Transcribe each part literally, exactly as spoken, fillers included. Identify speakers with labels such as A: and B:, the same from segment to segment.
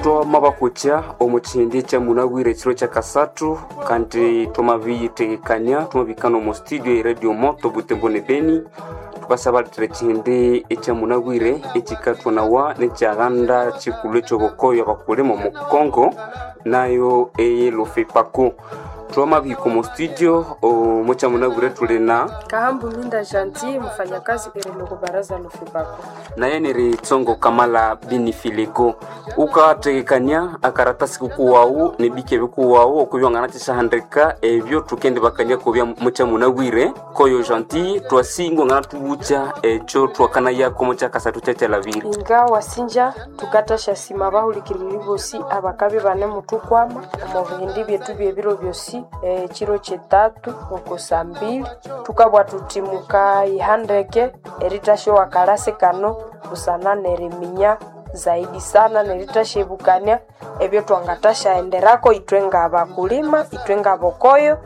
A: Twamabakutya omu kihindi kya munabwire ekiro kya kasathu kandi twamabiyitegekania twamabikana omu studio e Radio Moto Butembo ne Beni. Tukasabalitira ekihindi ekya munabwire ekikathwanawa nekyaghanda kikulhu ekyobukoyo abakulima omu Congo, nayo eye Lofepako. Twamabihika omu studio omu kyamunabwire tuli na
B: Kahambu Minda Janti, mfanyakazi ereloko baraza Lofepako.
A: Naye niri Tsongo Kamala Binifileko. Ukategekania akaratasi kukuwawu nebike bikuwawu okubyongana kyisahandika ebyo tukendibakania kubya mukyamunabwire koyo Gentil twasingwa ngana tubucha ekyo twakanayako mukyakasathu kyakyalabire.
B: Inga wasinja tukatasha sima bahulikiriri bosi abakabi bane mutukwama omu bihindi byetu byebiro byosi ekiro kyetatu oko saa mbili tukabwa tuti mukayihandeke eritasha wakalasi kano busana neriminya zaidi sana neritasha-ebukania ebyo twangatashaenderako ithwe ngabakulima, ithwe ngabokoyo,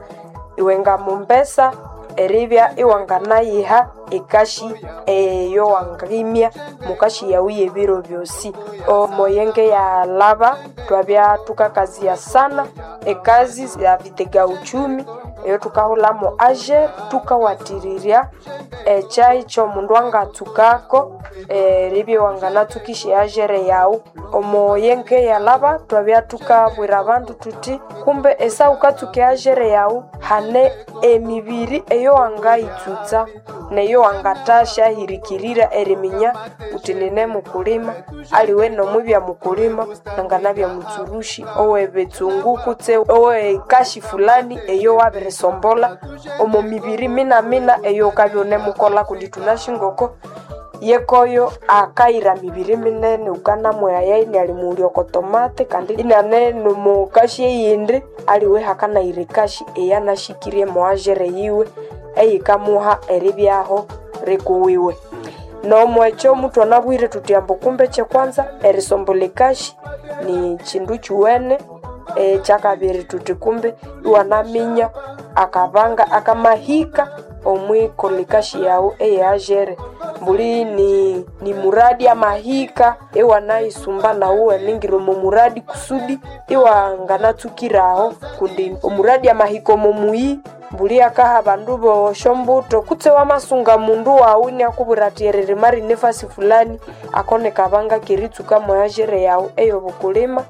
B: iwe ngamumbesa eribya iwanganayiha ekashi eyo wangimya mukashi yawu yebiro byosi. Omoyenge yalaba twabya tukakazia sana ekazi ya vitega uchumi eyo tukahulamo ager tukawatirirya ekyai kyomundu angatsukako eribya wanganatsukisha agere yawu. Omoyenge yalaba twabya tukabwira abandu tuthi kumbe esa wukatsuka agere yawu hane emibiri eyo wangayitsutsa neyo wangathasya hirikirira eriminya wuthi nine mukulima aliwe nomwibya mukulima nanganabya mutsurushi owebitsungu kutse owekashi fulani eyo wabirisombolha omo mibiri minamina eyo wukabya wunemukolha kundi thunasi ngoko yekoyo akayira mibiri minene wukanamwaya inialimughulya oko tomate kandi iniane nomukashi eyindi aliwe hakanayira ekashi eyanashikirye moagere yiwe eyikamuha eribyaho rikuwiwe. Nomwekyo muthwanabwire thuthi ambu kumbe kyekwanza erisombolha ekashi ni kindu kyuwene. Ekyakabiri thuthi kumbe iwanaminya akabanga akamahika omwikolha ekashi yawu eyeagere mbuli ni, ni muradi amahika iwanayisumba nawu iwaningira omo muradi kusudi iwanganatsukiraho kundi omuradi amahika omo muyi mbuli akaha abandu bosyombuto kutse wamasunga mundu wawu iniakubwira athi eririma rine efasi fulani ako nikabanga keritsuka mweagere yawu eyobukulima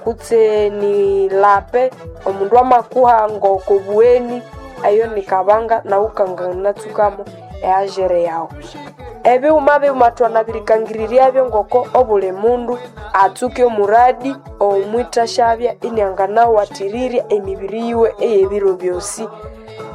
B: kutse ni lape omundu amakuha ngokobuweni eyo nikabanga nawu kanganatsukamo eagere yawu. Ebighuma bighuma thwanabirikangiriryabyo ngoko obuli mundu atsuke omuradi omwithasyabya inianganawathiriria emibiri yiwe ey'ebiro byosi.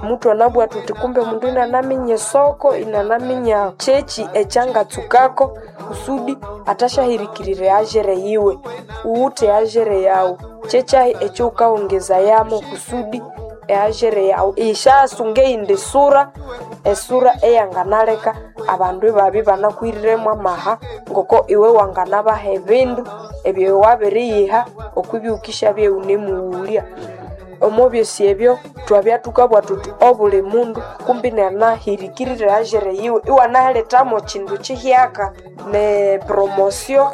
B: Muthwanabugha thuthi kumbe omundu inianaminya esoko, inianaminya kyeki ekyangatsukako kusudi athasyahirikirira eagere yiwe. Uwuthe eagere yawu kyekyahi ekyawukawongezayamu kusudi eagere yawu isyasunga eyindi sura, esura eyanganaleka abandu ibabya ibanakwiriremu amaha ngoko iwe wanganabaha ebindu ebyo wabiriyiha okwibya wukishabya iwunemughulya. Omo byosi ebyo thwabya thukabugha thuthi obuli mundu kumbi inianahirikirira eagere yiwe iwanalethamo kindu kihyaka ne promotion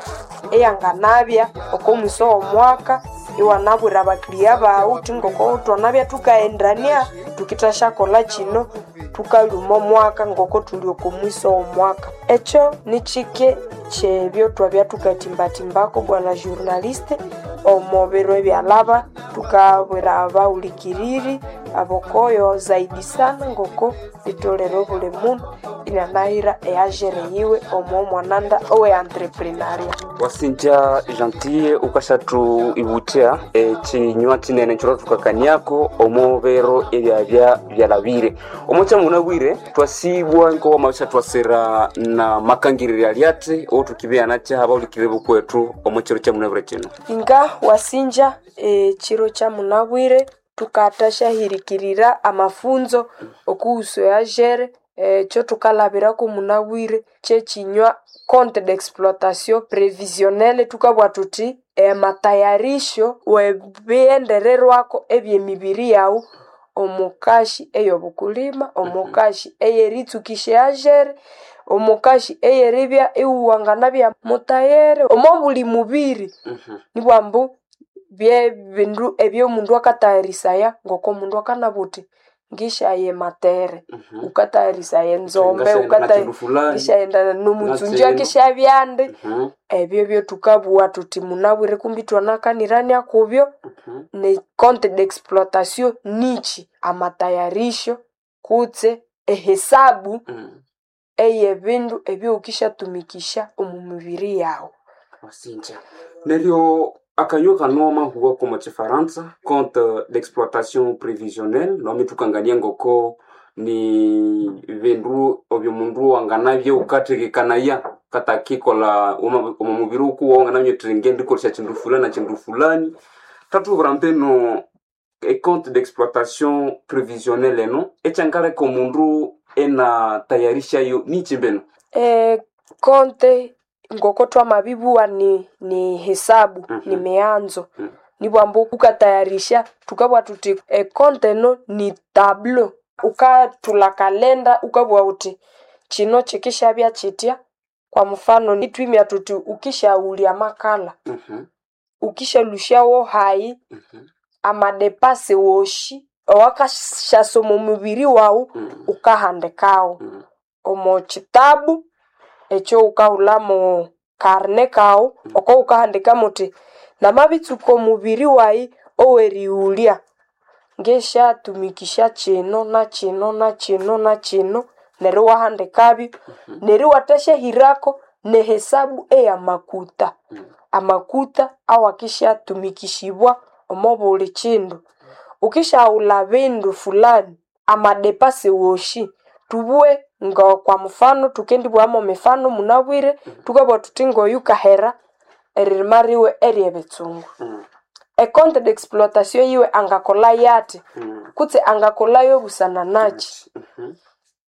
B: eyanganabya oko mwiso w'omwaka iwanabwira abakiriya baghu wuthi ngoko thwanabya thukaghendania thukithasyakolha kino thukalhuma omwaka ngoko thuli oko mwiso w'omwaka. Ekyo nikyike kyebyo thwabya thukathimbathimbaku bwana journaliste omo biro ebyalhaba thukabwira abahulikiriri abokoyo zaidi sana ngoko litholere obuli mundu inianahira eagere yiwe omo mwananda owe entrepreneuria.
A: Wasinja Gentille ukashathu ibuthya ekinywa kinene ekyo thukakaniako omo biro ebyabya byalabire. Omo kyamunabwire twasibwa nkowamabisha twasira na makangirira alyathi othukibya nakyaha abahulikiriri bukwethu omo kiro kyamunabwire kino.
B: Inga wasinja ekiro kyamunabwire tukathasya-hirikirira amafunzo okuhusu eagere ekyo thukalhabirako munabwire kyekinywa compte d'exploitation prévisionnelle thukabugha thuthi amatayarisho webighendererwako ebyemibiri yawu omukashi eyobukulima, omukashi eyeritsukisha eagere, Omukashi eyeribya iwanganabya mutayere omo buli mubiri.
A: Mhm.
B: Nibwambu byebindu ebyomundu akatayarisaya ngoko mundu akanabugha uthi ngisyaye matere,
A: Mhm.
B: ukatayarisaya enzombe,
A: Ngasyaghenda
B: ukata
A: nakindu fulani
B: ngisyaghenda nomutsunju
A: Natsinu.
B: akisyabyandi.
A: Mhm.
B: Ebyo byethukabugha thuthi munabwire kumbi ithwanakanirania kubyo.
A: Mhm.
B: Ne compte d'exploitation nikyi? Amatayarisho kutse ehesabu
A: Mm.
B: eyebindu ebyowukisyatumikisya omu mibiri yawu.
A: Wasinja. Neryo akanywa kano mahuwa komo chifaransa compte d'exploitation prévisionnelle nomi tukangania ngoko ni bindu obyo mundu wanganabya wukathekekanaya katakikolha omo omo mubiri wukuwa wanganabya wuthi ngendikolesya kindu fulani na kindu fulani. Thathubwira mbinu e compte d'exploitation prévisionnelle eno ekyangaleka omundu inatayarishayo nikyi mbinu?
B: E compte ngoko twamabibugha ni ni hesabu
A: Mhm.
B: ni mianzo.
A: Mhm.
B: Nibwambu wukatayarisha thukabugha thuthi e compte eno ni tableau. Wukathulha kalenda wukabugha wuthi kino kikisyabya kyitya. Kwa mfano ithwimya thuthi wukisyaghulya amakala,
A: Mhm.
B: wukisyalusyawo hayi
A: Mhm.
B: amadepase wosi owakasyasa omo mubiri wawu
A: Mhm.
B: wukahandikawo.
A: Mhm.
B: Omo kitabu ekyo wukahulhamu karne kawu oko wukahandikamu wuthi namabitsuka omubiri wayi owerighulya ngisyatumikisya kino nakino nakino nakino neryo iwahandikabyo. Neryo iwathasyahirako nehesabu eyamakuta. Amakuta awakisyatumikisibwa omo buli kindu. Wukisyaghulha bindu fulani amadepase wosi thubughe ngo kwa mfano thukendibugha mifano munabwire thukabugha thuthi ngoyu kahera eririma riwe eryebitsungu.
A: Mhm.
B: E compte d'exploitation yiwe angakolha yathi
A: Mhm.
B: kutse angakolhayo busana nakyi.
A: Mhm.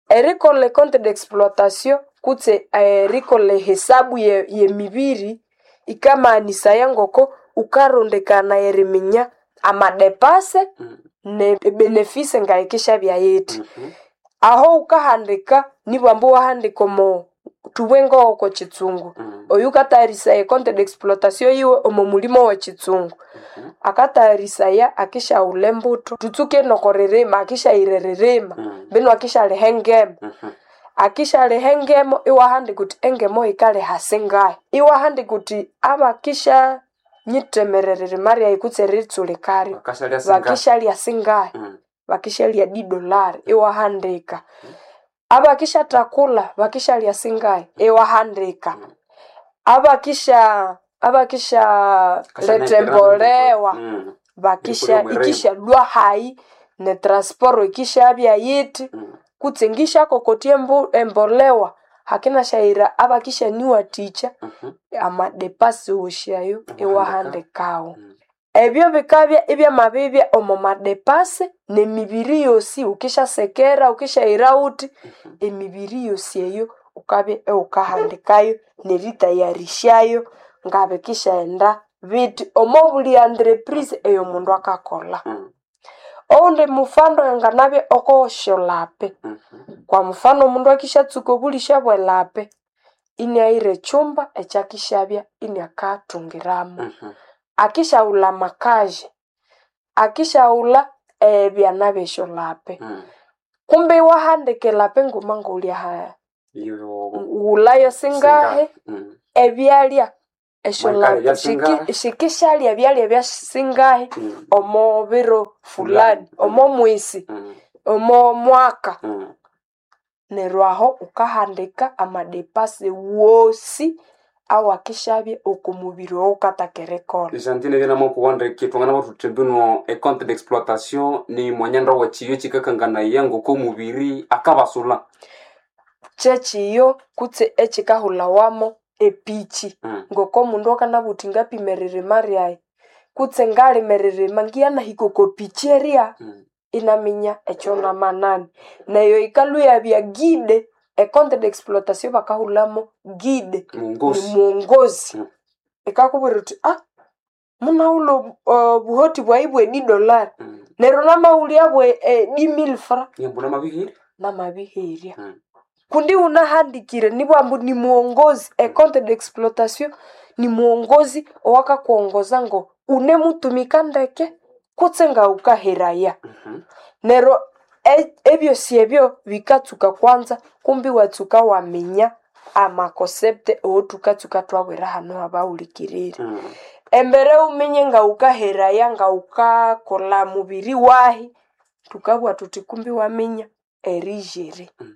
B: Erikolha e compte d'exploitation kutse erikolha ehesabu ye yemibiri yikamanisaya ngoko wukarondekana eriminya amadepase
A: Mhm.
B: ne ebenefisi ngayikisyabya yithi.
A: Mhm.
B: Aho wukahandika nibwambu iwahandika omo thubughe ngoko kitsungu.
A: Mhm.
B: Oyu wukatayarisaya e compte d'exploitation yiwe omo mulimo wekitsungu.
A: Mhm.
B: Akatayarisaya akisyaghulha embuthu thutsuke nokoririma akisyayira eririma
A: Mhm.
B: mbinu akisyaliha engemu.
A: Mhm.
B: Akisyaliha engemu iwahandika wuthi engemu yikaliha singahi. Iwahandika wuthi abakisya nyitemera eririma ryayi kutse eritsulikaryo
A: Bakasyalya singahi?
B: bakisyalya singahi.
A: Mhm.
B: Bakisyalya di dolari iwahandika. Abakisyathakula bakisyalya singahi iwahandika. Abakisya abakisya letha embolewa
A: Mm.
B: bakisya
A: Erikolha omwirima.
B: ikisyalwa hayi ne transport ikisyabya yithi
A: Mm.
B: kutse ngisyakokotya embu embolewa hakinasyayira abakisyaniwathikya
A: Mhm.
B: amadepasi wosi ayo
A: Iwahandika.
B: iwahandikawo.
A: Mm.
B: Ebyo bikabya ibyamabibya omo madepasi nemibiri yosi wukisyasekera wukisyahira wuthi emibiri yosi eyo wukabya iwukahandikayo neritayarisyayo ngabikisyaghenda bithi omo buli entreprise eyomundu akakolha.
A: Mm.
B: Owundi mufano anganabya okosyolape.
A: Mhm.
B: Kwa mfano omundu akisyatsuka obulisya bwelape iniaghira ekyumba ekyakisyabya iniakathungiramu.
A: Mhm.
B: Akisyaghulha amakaji, akisyaghulha ebyana byesyolape.
A: Mm.
B: Kumbe iwahandika elape nguma ngolya
A: Iyo
B: ghulhayo singahi
A: Mm.
B: ebyalya
A: Mwayikalya
B: esyolape
A: byasingahi?
B: sikisyalya ebyalya byasingahi
A: Mm.
B: omo biro fulani
A: Fulani.
B: omo mwisi
A: Mm.
B: omo mwaka.
A: Mm.
B: Neryo aho wukahandika amadepase wosi awakisyabya oko mubiri owawukataka erikolha.
A: Jantine byanamukuwandike thwanganabugha thuthi mbino e compte d'exploitation ni mwanyanda wekiyo ekikakanganaya ngoko omubiri akabasulha.
B: Kyekiyo kutse ekikahulhawamo epiki
A: Mm.
B: ngoko omundu akanabugha wuthi ngapima eririma ryayi kutse ngalima eririma ngiyanahika oko piki erya
A: Mm.
B: inaminya ekyonamanani. Neyo yikalhwa iyabya guide e compte d'exploitation bakahulhamo guide ni
A: Mwongozi.
B: mwongozi.
A: Mm.
B: Ikakubwira wuthi ah munaghulha obuhoti bwayi bwe di dolari
A: Mm.
B: neryo namaghulya bwe di mille francs
A: Nimbula mabihira.
B: namabiherya.
A: Mm.
B: Kundi unahandikire nibwambu ni muongozi, e compte d'exploitation ni muongozi owakakuongoza ngo unemutumika ndeke kutse nga ukaheraya.
A: Mhm.
B: Neryo e- ebyosi ebyo bikatsuka kwanza kumbi watsuka waminya amaconcept owothukatsuka twabwira hano abawulikirire.
A: Mm.
B: Embere wuminye nga wukaheraya nga wukakolha mubiri wahi, thukabugha thuthi kumbi waminya erijere
A: Mm.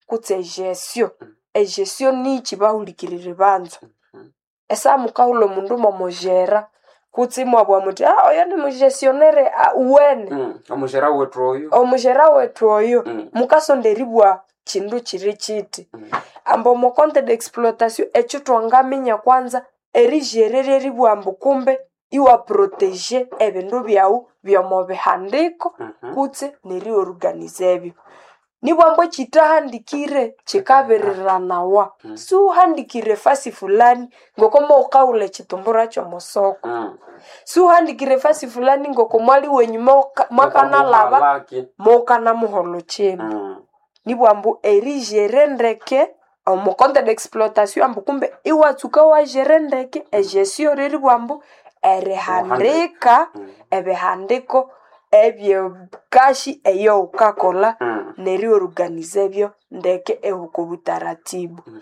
B: kutse egestion.
A: Mm.
B: Egestion nikyi bahulikiriri banza?
A: Mm.
B: Esaha mukahulha omundu mwamujera kutse imwabugha muthi ah oyo nimugestionnaire uwene
A: Mm. Omujera wethu oyo.
B: omujera wethu oyo
A: Mm.
B: mukasonda eribugha kindu kiri kiti.
A: Mm.
B: Ambu omo compte d'exploitation ekyo thwangaminya kwanza erijere ryeribugha ambu kumbe iwaproteger ebindu byawu by'omo bihandiko
A: Mhm.
B: kutse neriorganiza ebyo. Nibwambu ekyithahandikire kikabiriranawa.
A: Mm.
B: Siwuhandikire fasi fulani ngoko mukahulha ekitumbura ky'omusoko.
A: Mm.
B: Siwuhandikire fasi fulani ngoko mwali wenyuma wuka- mwakanalhaba
A: Mukalaki.
B: mukanamuholha kyinu.
A: Mm.
B: Nibwambu erijere ndeke omo compte d'exploitation ambu kumbe iwatsuka wajere ndeke egestion ryeribugha ambu erihandika
A: Mm.
B: ebihandiko ebyekashi eyowukakolha
A: Mm.
B: neriorganiza ebyo ndeke ehuka obutaratibu.
A: Mhm.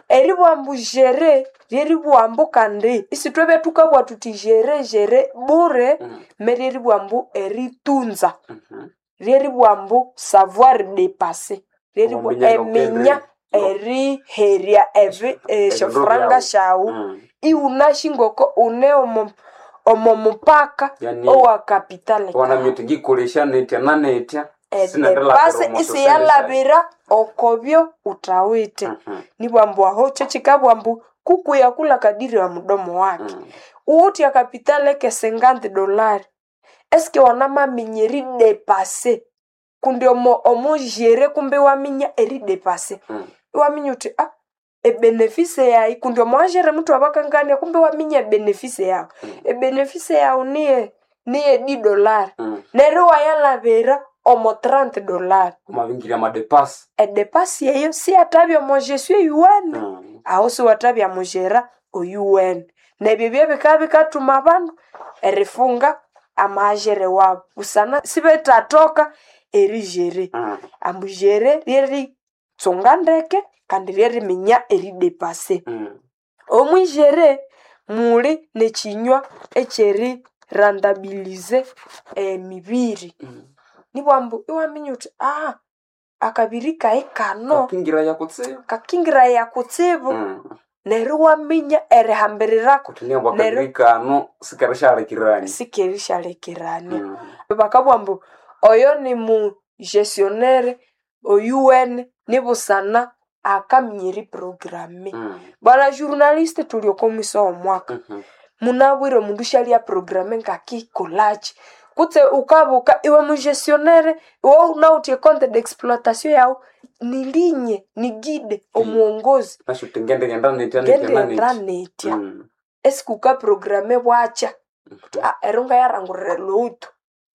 B: Eribugha ambu jere ryeribugha ambu kandi isithwebya thukabugha thuthi jere jere bure
A: Mm.
B: me ryeribugha ambu eritunza
A: Mhm.
B: ryeribugha ambu savoir dépasser ryeribugha
A: Waminya
B: eminya
A: ngokende-
B: eriherya ebi esyofuranga
A: byawu.
B: syawu
A: Mm.
B: iwunasi ngoko une omo omo mupaka
A: Yani
B: owa kapitale
A: wana
B: kawu.
A: myuti ngikolesha netya na netya
B: Edepase isiyalabira okobyo uthawithe.
A: Mhm.
B: Nibwambu aho kyekyikabugha ambu kuku yakula kadiri ya mudomo wake.
A: Mm.
B: Uwuthe akapitale ke cinquante dolari eske wanamaminya eridepase kundi omo omujere kumbe iwaminya eridepase.
A: Mm.
B: Iwaminya uthi ah ebenefise yayi kundi omwajere muthu abakangania kumbe iwaminya ebenefise yawu.
A: Mm.
B: Ebenefise yawu niye niye di dolari
A: Mm.
B: neryo iwayalabira omo trente dolari.
A: Wamabingirya amadepasi.
B: Edepasi eyo siyathabya omo gestion eyuwene
A: Mm.
B: aho siwathabya mujera oyuwene. Nebyo byebikabya bikathuma abandu erifunga amajere wabu busana sibethathoka erijere.
A: Mm.
B: Ambu jere ryeritsunga ndeke kandi ryeriminya eridepase.
A: Mm.
B: Omwijere muli nekyinywa ekyeri rentabilize emibiri.
A: Mm.
B: Nibwambu iwaminya uthi ah akabiri kayi kano
A: Kakingira yakutsibu.
B: kakingiraya kutsibu
A: Mm.
B: neryo iwaminya erihambirirako
A: Kuthi niyambu
B: neryo
A: akabiri kano sikerishalekirania.
B: sikerishalekirania.
A: Mm.
B: Bakabugha ambu oyo nimugestionnaire oyuwene nibusana akaminya eriprograme.
A: Mm.
B: Bwana journaliste thuli oko mwisa w'omwaka
A: Mhm.
B: munabwire omundu syalya programe ngakikolhakyi kutse wukabuka iwe mugestionnaire iwe wunawithe ecompte d'exploitation yawu nilinye niguide omuwongozi
A: Nasyo uthi ngendighenda netya netya na
B: ngendighenda
A: netya.
B: netya
A: Mm.
B: esiku wukaprograme bwakya
A: Mhm.
B: ah ero ngayarangurira elhutu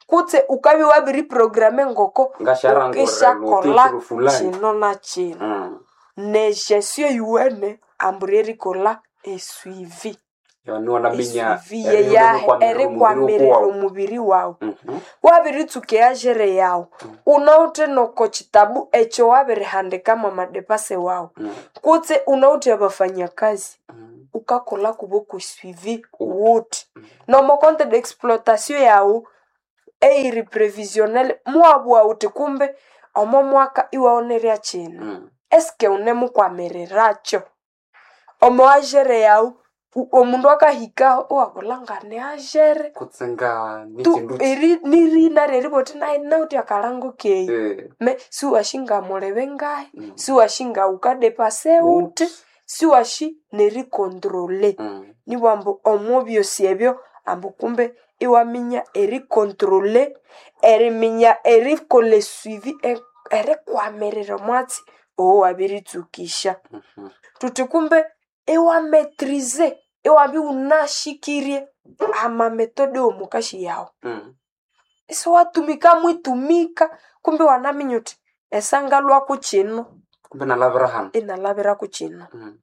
B: kutse wukabya wabiriprograme ngoko
A: Ngasharangurira
B: wukisyakolha
A: elhutu fulani.
B: kino na kino.
A: Mm.
B: Negestion eyuwene ambu ryerikolha esuivi.
A: Yani wanaminya
B: Esuivi yeyahi
A: erikwamirira omubiri
B: erikwamirira
A: wawu.
B: omubiri wawu.
A: Mhm.
B: Wabiritsuka eyajere yawu
A: Mm.
B: wunawithe noko kitabu ekyo wabirihandikamu amadepase wawu
A: Mm.
B: kutse wunawithe abafanyakazi
A: Mm.
B: wukakolha kubo kwesuivi
A: Wuthi.
B: wuthi.
A: Mm.
B: Nomo compte d'exploitation yawu eyiri previsionnel muwabugha wuthi kumbe omo mwaka iwawunerya kino.
A: Mm.
B: Eske wunemukwamirirakyo? Omo ajere yawu omundu akahikaho iwabulha nganiajere
A: Kutse nga
B: tu
A: nikindu ki?
B: eri nirina ryeribugha wuthi nayi nawithe akalango keyi
A: Eh.
B: me siwasi ngamulebe ngahi
A: Mm.
B: siwasi ngawukadepase wuthi
A: Wuthi.
B: siwasi nericontrole.
A: Mm.
B: Nibugha ambu omo byosi ebyo ambu kumbe iwaminya ericontrole eriminya erikolha esuivi erikwamirira omwatsi owowabiritsuka.
A: Mhm.
B: Thuthi kumbe iwamaîtrize iwabya iwunashikirye amamethode w'omukashi yawu.
A: Mm.
B: Isiwatumika mwitumika kumbe iwanaminya wuthi esangalhwaku kino
A: Kumbe nalabira hano.
B: Inalabirako kino.
A: Mm.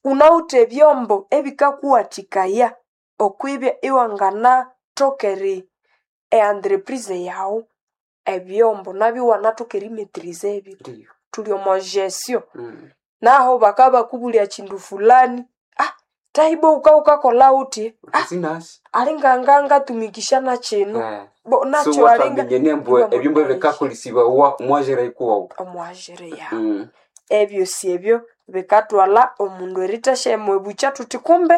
B: Unawithe ebyombo ebikakuwathikaya okwibya iwanganathoka eri e-entreprise yawu ebyombo nabyo iwanathoka erimetiriza ebyo.
A: Ndiyo.
B: Thuli omo gestion.
A: Mm.
B: Naho bakabakubulya kindu fulani, ah tahibo wuka wukakolha wuthi, ah
A: Sinasi.
B: alinga ngatumikisha nakino.
A: Eh.
B: Bo
A: So
B: nakyo alinga
A: wataminya embu ebyombo ebikakolesibawa omwajira ikuwawu.
B: omwajira yawu.
A: Mm.
B: Ebyosi ebyo bikathwalha omundu erithasya mwebukya thuthi kumbe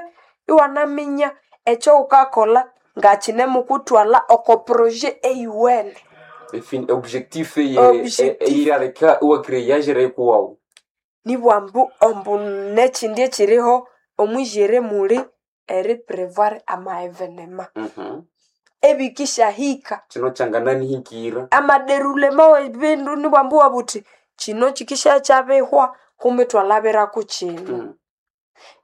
B: iwanaminya ekyowukakolha ngakinemukuthwalha oko projet eyuwene.
A: Efin objectif eye
B: Objectif.
A: eyiraleka iwacreate yajira ikuwawu.
B: Nibwambu ombu nekyindi ekyiriho omwijere muli eriprevoir ama evenema
A: Mhm.
B: ebikishahika
A: Kino kyangananihikira.
B: amaderulema webindu nibwambu wabuthi kino kikishakyabihwa kumbe twalabirako kino.
A: Mm.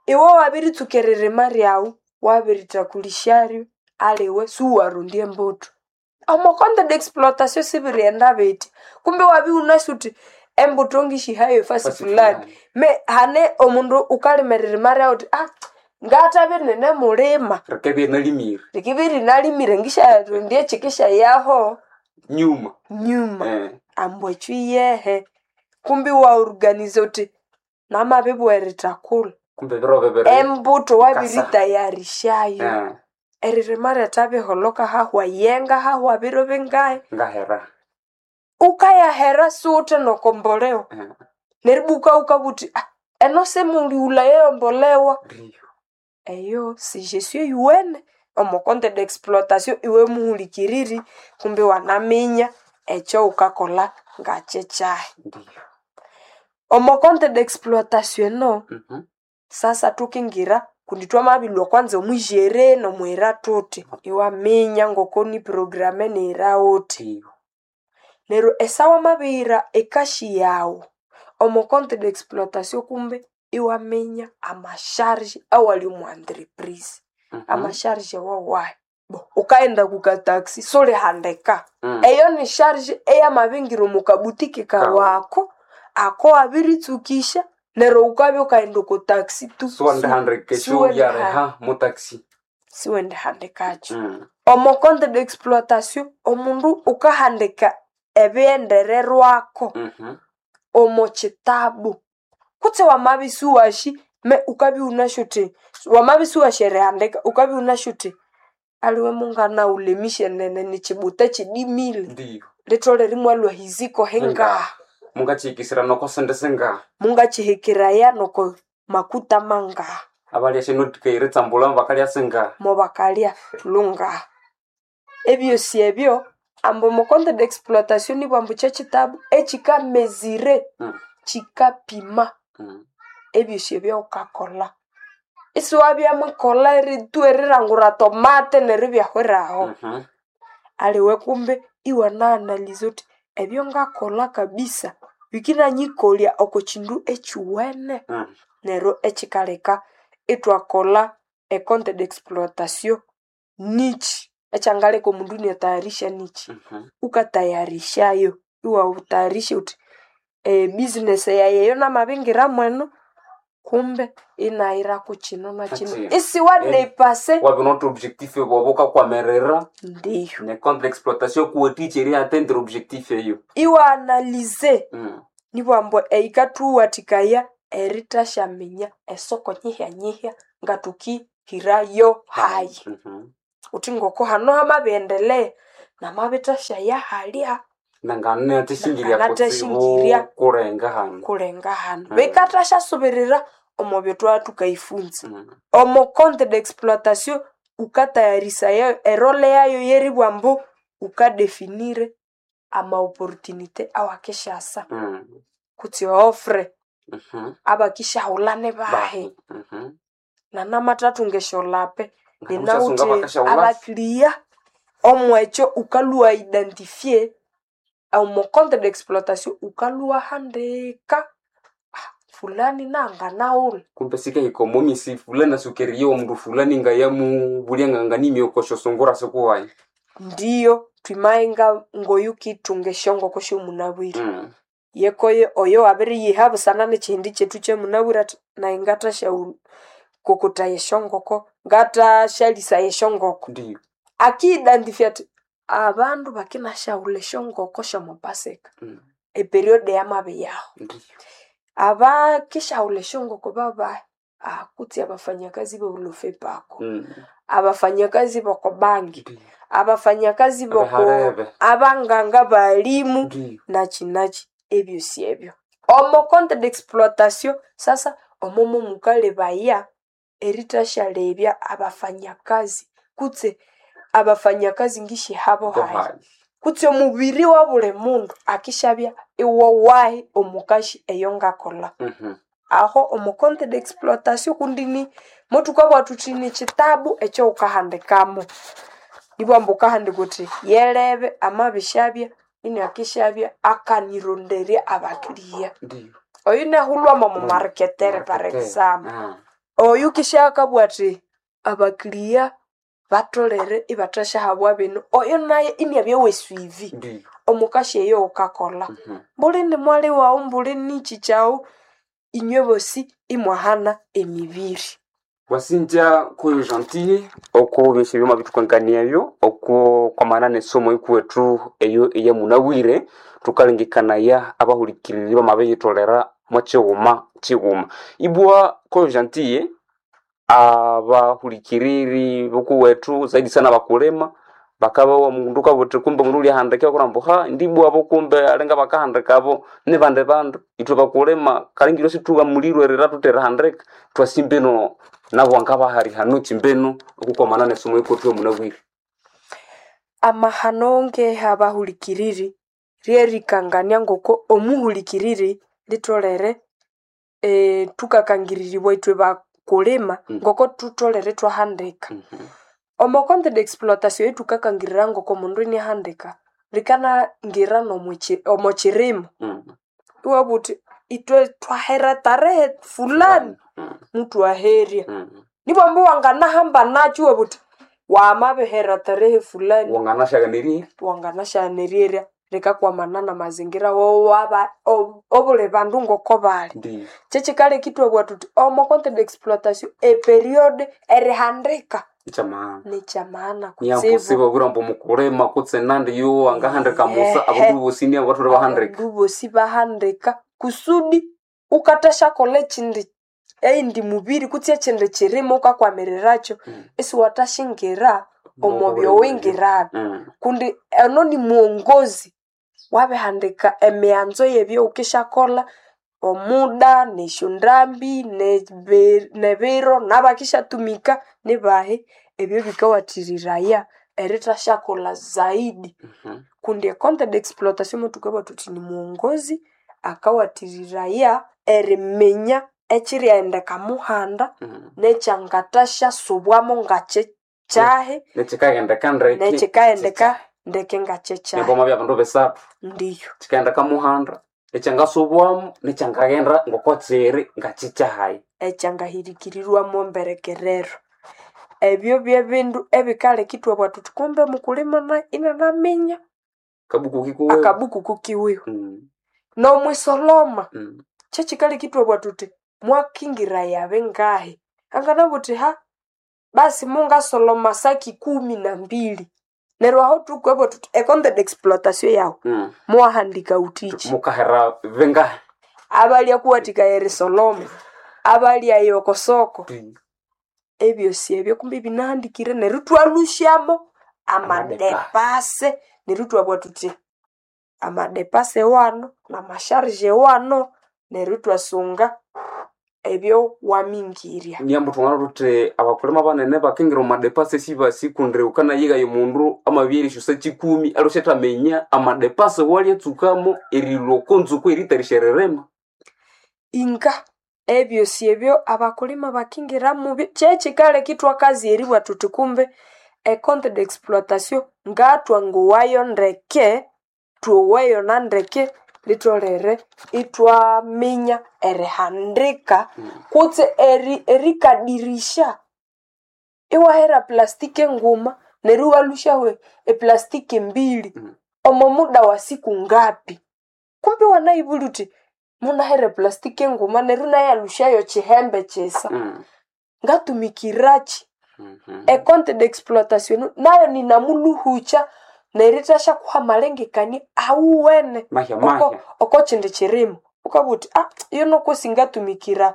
B: Iwe wabiritsuka eririma ryawu wabiritakulishyaryo aliwe siwarondya embuthu. Omo compte d'exploitation sibirighenda bithi kumbe wabya iwunasi wuthi embuthu ngisyihayo efasi
A: Fasi
B: fulani
A: fulani.
B: me hane omundu wukalima eririma ryawu wuthi ah ngathabya ininimulima
A: Rikabya inalimire.
B: rikibya irinalimire ngisyarondya ekyikisyayaho
A: Nyuma.
B: nyuma.
A: Eh.
B: Ambu ekyo iyehe kumbe iwaoruganiza wuthi namabibugha eritakulha
A: Kumbe ebiro bibiri.
B: embuthu wabiritayarishayo.
A: Eh.
B: Eririma ryathabiholhoka hahwa yenga hahwa biro bingahi
A: Ngahera.
B: wukayahera siwuthe nokombolewa
A: Eh.
B: neribwa wukabugha wuthi ah eno simulighulhayo eyombolewa.
A: Ndiyo.
B: Eyo si gestion eyuwene omo compte d'exploitation iwe muhulikiriri kumbe iwanaminya ekyowukakolha ngakyekyahi.
A: Ndiyo.
B: Omo compte d'exploitation eno
A: Mhm.
B: sasa thukingira kundi twamabilhwa kwanza omwijere nomwira thuthi iwaminya ngoko ni programe niyira wuthi.
A: Ndiyo.
B: Neryo esawa wamabiyira ekashi yawu omo compte d'exploitation kumbe iwaminya amasharge awali omu entreprise.
A: Mhm.
B: Amasharge wawahi? Bo wukaghenda kuka taxi sulihandika.
A: Mm.
B: Eyo ni charge eyamabingira omu kabutiki kawu ako, ako wabiritsukisya neryo wukabya wukaghenda oko taxi tu
A: Siwandihandika esyobyariha mu taxi.
B: siwendihandikakyo.
A: Mm.
B: Omo compte d'exploitation omundu wukahandika ebighendererwako
A: Mhm.
B: omo kitabu kutse wamabya isiwasi me wukabya iwunasi wuthi wamabya isiwasi erihandika wukabya iwunasi wuthi aliwe mungana wulemisye nene nikibuta kidimile
A: Ndiyo.
B: litholere imwalhwa ahiziko hingaha
A: Mungakyihikisira noko sente singaha.
B: mungakihikiraya noko makuta mangaha
A: Abalya syanothika eritsambula bakalya singaha.
B: mobakalya lungaha. Ebyosi ebyo ambu omo compte d'exploitation nibwambu kyekyitabu ekyikamezire
A: Mm.
B: kyikapima
A: Mm.
B: ebyosi ebyawukakolha. Isiwabya mukolha eritu erilangura tomate neryo ibyahweraho.
A: Mhm.
B: Aliwe kumbe iwana analyza wuthi ebyongakolha kabisa bikinanyikolya oko kindu ekyuwene.
A: Mm.
B: Neryo ekyikaleka ithwakolha e compte d'exploitation nikyi ekyangaleka omundu iniatayarisha nikyi.
A: Mhm.
B: Wukatayarishayo iwawutayarisha wuthi e business yayi eyo namabingira mweno kumbe inayirako kino nakino
A: Nakino.
B: isiwadepase
A: Wabya wunawithe objectif bwaba wukakwamirira
B: ndiyo
A: ne compte d'exploitation kuwathikya eriatteindre objectif eyo.
B: iwaanalize
A: Mm.
B: nibwambu eyikathuwathikaya eritasyaminya esoko nyihya-nyihya ngathukihirayo hayi
A: Mhm.
B: wuthi ngoko hano hamabighendelea namabithasyaya halya
A: Nanganathasingirya kutsibu
B: Nanganathasingirya.
A: kulenga hano.
B: kulenga hano
A: Mm.
B: bikathasya omo byotwaa thukayifunza
A: Mm.
B: omo compte d'exploitation wukatayarisaya erole yayo yeribugha ambu wukadefinire amaopportunité awakisyasa
A: Mm.
B: kutse offre
A: Mhm.
B: abakisyaghulha nibahi
A: Bahi. Mhm.
B: nanamathathunga esyolape
A: Nganamusasunga
B: ninawithe
A: bakasyaghulha.
B: abakiliya omwekyo wukalhwa identifier omo compte d'exploitation wukalhwa handika ah, fulani nanganaghulha
A: Kumbe sikahika omo misi fulani asukeriye omundu fulani ngayamubulya nganganimya oko syosungura sikuwayi.
B: Ndiyo thwimayenga ngoyukithunga esyongoko syomunabwire.
A: Mm.
B: Yekoyo oyo wabiriyiha busana n'ekihindi kyethu kyamunabwire athi nayi ngathasyawu kokotaya esyongoko ngathashyalisaya esyongoko
A: Ndiyo.
B: akiyidentifya athi abandu bakinasyawulha esyongoko syomupasika
A: Mm.
B: eperiode yamabiyaho
A: Ndiyo.
B: abakisyawulha esyongoko babahi ah, kutse abafanyakazi bobulofepako
A: Mm.
B: abafanyakazi bokobangi
A: Ndiyo.
B: abafanyakazi boko
A: Abaharebe.
B: abanganga balimu
A: Ndiyo.
B: nachi nachi ebyosi ebyo omo compte d'exploitation sasa omomo mukalebaya erithashalebya abafanyakazi kutse abafanyakazi ngishihabo hayi
A: Bohayi.
B: kutse omubiri wa buli mundu akishabya iwowahi omukashi eyo ngakolha
A: Mhm.
B: aho omo compte d'exploitation kundini mothukabugha thuthi ni kitabu ekyawukahandikamo ibwamba wukahandika wuthi yelebe amabishabya iniakishabya akanironderya abakiriya
A: Ndiyo.
B: oyu nahulhwamo omu marketere par
A: Marketer.
B: example
A: Ah.
B: oyu kishakabugha athi abakiriya batholere ibathasyahabwa bino oyo nayo iniabya wesuivi
A: Ndiyo.
B: omukashi eyo wukakolha
A: Mhm.
B: mbuli ni mwali wawu mbuli niki kyawu inywe bosi imwahana emibiri
A: Wasinja kuyo gentille oko byesyo byoma bithukangania ebyo oko kwamana nesomo ikuwethu eyo eyamunabwire thukalengekanaya abahulikiriri bamabiyitholera mwakighuma kighuma ibwa koyo gentille abahulikiriri bukuwethu zaidi sana abakulima bakabawa mundu kabuthi kumbe mundu ulyahandika bakurambu ha ndibwabo kumbe alinga bakahandikabo nibandi bandu ithwe bakulima kalingiro situwamulirwe erira thutherihandika twasimbino nabo angabahali hano kimbino okukwamana nesomo ikuwethu eyamunabwire
B: amahano ngeha abahulikiriri ryerikangania ngoko omuhulikiriri litholere eh, thukakangiriribwa ithwe bakulima
A: Mm.
B: ngoko thutholere thwahandika
A: Mhm.
B: omo compte d'exploitation yethukakangirira ngoko omundu iniahandika likanangira nomwiki- omo kirimo
A: Mm.
B: iwabugha wuthi ithwe twahera tarehe fulani
A: Mm.
B: muthwaherya
A: Mm.
B: nibwamba wanganahamba nakyo iwabugha wuthi wamabihera tarehe fulani
A: wanganashaganirie
B: wanganasyanererya likakwamana na mazingira wowaba obuli bandu ngoko bali
A: ndiyo
B: kyekikaleka ithwabugha thuthi omo compte d'exploitation eperiode erihandika
A: ikyamaana
B: nikyamaana kutsibu
A: nyambusiba bwira mukulima kutse nandi yo angahandika musa
B: Ehe.
A: abandu bosi niabo bathole bahandika
B: abandu bosi bahandika kusudi ukathasyakolha ekindi eyindi mubiri kutse ekindi kirimo wukakwamirirakyo
A: Mm.
B: isiwathashingira omo
A: Omo
B: byowingirabi
A: Mm.
B: kundi eno ni muongozi wabihandika emighanzo yebyowukisyakolha omuda nesyondambi nebi- nebiro nabakisyatumika nibahi ebyo bikawathiriraya erithasyakolha zaidi
A: Mhm.
B: kundi ecompte d'exploitation mothukabugha thuthi ni muongozi akawathiriraya eriminya ekyirighendeka muhanda
A: Mm.
B: nekyangathasyasobwamo ngakyekyahi
A: Nekikaghendeka ndeke
B: nekyikaghenda ndeke ngakyekyahi
A: nemboma bya bandu bisathu
B: ndiyo
A: kikaghenda muhanda ekyangasobwamu nekyangaghenda ngoko kiri ngakikyahayi
B: ekyangahirikirirwamu emberekerero ebyo byebindu ebikaleka ithwabugha thuthi kumbe mukulima nayo inanaminya
A: kabuku kikuwewe
B: akabuku kukiwiwe
A: Mm.
B: nomwisoloma
A: Mm.
B: kyekikaleka ithwabugha thuthi mwakingira bingahi anganabugha uthi ha basi mungasoloma saki kumi na mbili neryo aho thukwabugha thuthi ecompte d'exploitation yawu
A: Mm.
B: muwahandika wuthiki
A: mukahera bingahi
B: abalya kuwathikaya erisoloma abalya okosoko ebyosi ebyo kumbe binahandikire neryo ithwalhusyamo amadepase neryo ithwabugha thuthi amadepase wano namasharge wano neryo ithwasunga ebyo wamingirya
A: niambu thungana thuthi abakulima banene bakingira omu madepase sibasi kundi wukanayighaya omundu amabya erisyosa kikumi alhusyathamenya amadepase walyatsukamo erilhwa oko nzuku eritarisya eririma
B: inga ebyosi ebyo abakulima bakingiramu kyekikaleka ithwakazi eribugha thuthi kumbe ecompte d'exploitation ngathwangowayo ndeke thwowayo na ndeke litholere ithwaminya erihandika kutse eri erikadirisha iwahera plastiki enguma neryo iwalhusyahu eplastiki mbili
A: Mm.
B: omo muda wa siku ngapi kumbe Wamabya iwanayibulya uthi munahere plastiki enguma neryo inayalhusyayo kihembe kisa
A: Mm.
B: ngatumikirachi
A: Mhm.
B: ecompte d'exploitation nayo ninamuluhukya nerithasyakuha amalengekania awuwene
A: Mahya
B: oko
A: mahya.
B: oko kindi kirimo ukabugha uthi ah yuno kwesi ngatumikira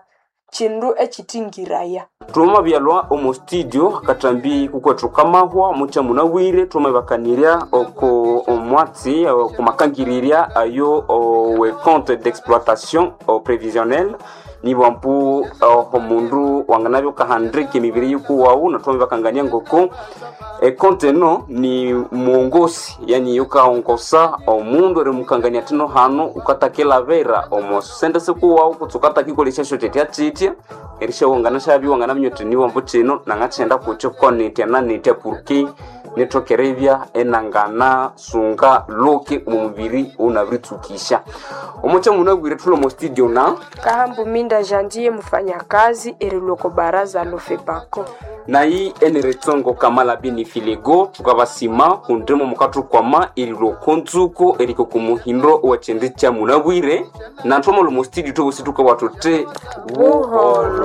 B: kindu ekitingiraya
A: Twamabyalwa omu studio katambi kukwethu kamahwa mucha munabwire twamabakanirya oko omwatsi oko makangirirya ayo owe compte d'exploitation o prévisionnel nibwambu omundu wanganabya ukahandika emibiri yikuwawu na twamabakangania ngoko ekonte eno ni mwongosi yani yukaongosa omundu erimukangania tino hano ukatakilabira omo sente sikuwawu kutse ukatakikolesya syotetya kyitya erishawangana syabya wanganaminya uthi niwambu kino nangakyenda kukyo konitya nanitya purki nithokeribya enangana sunga luki omu mubiri unabiritsukisya omukya munabwire thuli omo studio na
B: kahambu minda jandiye mufanyakazi erilwa oko baraza lofepako
A: nayi eneretsongo kamala bini filego tukabasima kundimo mukathukwama erilwa oko ntsuko eriko kumuhindo owekyindi kya munabwire nathwamala omo studio thwebosi thukabugha thuthi
B: Buholo.